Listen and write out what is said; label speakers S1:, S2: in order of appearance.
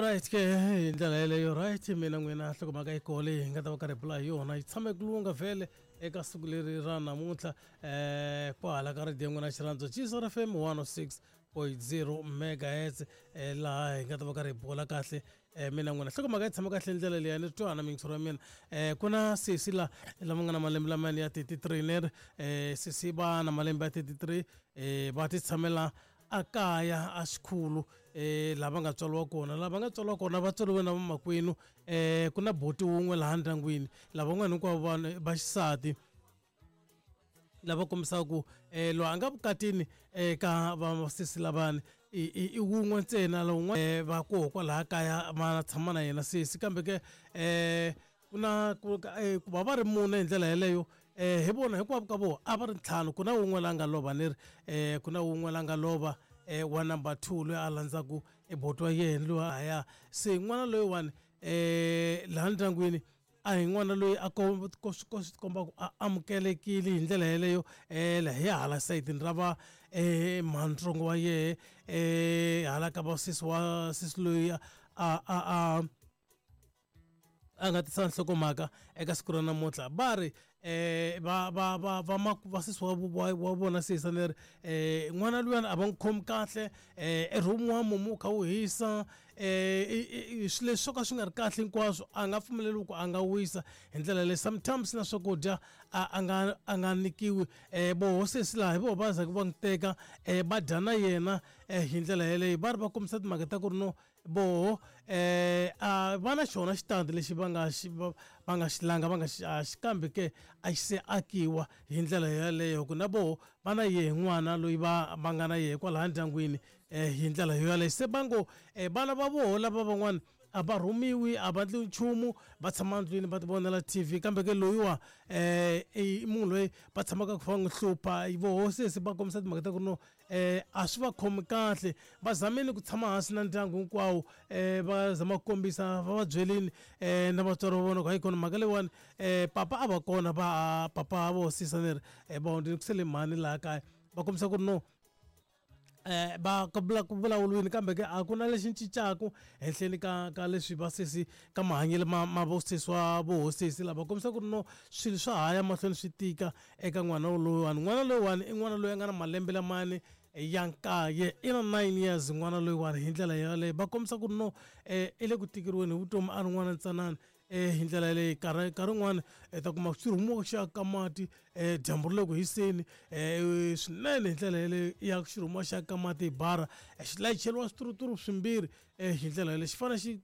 S1: Alright ke hi ndlela yeleyo, right, mina n'wina nhlokomhaka yi koho leyi hi nga ta va karhi hi bula hi yona yi tshame ku lunga vhele eka siku leri ra namuntlha kwahala ka radio n'wina xirhandzo Jesus FM 106.0 megahertz, laha hi nga ta va karhi hi bula kahle mina n'wina. Nhlokomhaka yi tshama kahle ndlela leyi ni twana mintshuri ya mina. Ku na sesi la lava nga na malembe lamaya ya 33 leri sesi va na malembe ya 33, va ti tshamela a kaya a xikhulu, lava nga tswariwa kona, lava nga tswariwa kona va tswariwe na vamakwenu. Ku na boti wun'we laha ndyangwini, lavan'wana hinkwavo vanhu va xisati lava kombisaka ku loyi a nga vukatini eka vasesi lavani i wun'we ntsena, lowun'wana va koho kwalaha kaya va tshama na yena sesi. Kambe ke ku na ku va va ri mune hi ndlela yeleyo, hi vona hinkwavo ka vona a va ri ntlhanu. Ku na wun'we la nga lova ni ri, ku na wun'we la nga lova, wa number 2 loyi a landzaku e boti wa yena loyi a ya se n'wana loyiwani, laha ndyangwini a hi n'wana loyi a ko swi komba ku a amukelekile hi ndlela yeleyo. La hi hala sayitini ra va mhantsongo wa yehe, hala ka va sesi wa sesi loyi a nga tisa nhlokomhaka eka siku ra namuntlha, va ri va va va va va sesi wa vona sesi leri, n'wana luyani a va n'wi khomi kahle, eroom wa mumu wu kha wu hisa, swilo leswi swo ka swi nga ri kahle hinkwaswo a nga pfumeleriwi ku a nga wisa hi ndlela leyi. Sometimes na swakudya a nga nyikiwi. Voho sesi laha hi voho va zaka va n'wi teka, va dya na yena hi ndlela yeleyo. Va ri va kombisa timhaka ta ku ri no voho a va na xona xitandi lexi va nga xi va nga xi langa va nga xi xi, kambe ke a xi se akiwa hi ndlela yeleyo, ku na voho va na yehe n'wana loyi va nga na yehe kwalaha ndyangwini hi ndlela yoyaleyo. Se va ngo vana va voho lava van'wana a va rhumiwi, a va ndli nchumu, va tshama ndlwini va ti vonela TV, kambe ke loyiwa i munhu loyi va tshamaka ku va n'wi hlupha. Voho sesi va kombisa timhaka ta ku no a swi va khomi kahle. Va zamile ku tshama hansi na ndyangu hinkwawo, va zama ku kombisa, va va byelini na vatswari va vona ku hayi kona mhaka leyiwani, papa a va kona, va papa vo sisa ni ri va hundzile ku sele mhani laha kaya. Va kombisa ku ri no va ku vulavuriwini, kambe ke a ku na lexi cincaku henhleni ka leswi vasesi ka mahanyelo ma vosesi wa vohosesi lava kombisa ku ri no swilo swa ha ya mahlweni swi tika eka n'wana loyiwani. N'wana loyiwani i n'wana loyi a nga na malembe lamani ya 9, i na 9 years n'wana loyiwani. Hi ndlela yaleyo va kombisa ku ri no i le ku tikeriweni hi vutomi a ri n'wana ntsanana hi ndlela yaleyo. Nkarhi wun'wani i ta kuma xi rhumiwa xa ka mati, dyambu ri le ku hiseni swinene, hi ndlela yaleyo ya xi rhumiwa xa ka mati hi bara, xi layicheliwa swituruturu swimbirhi, hi ndlela yaleyo xi fanele xi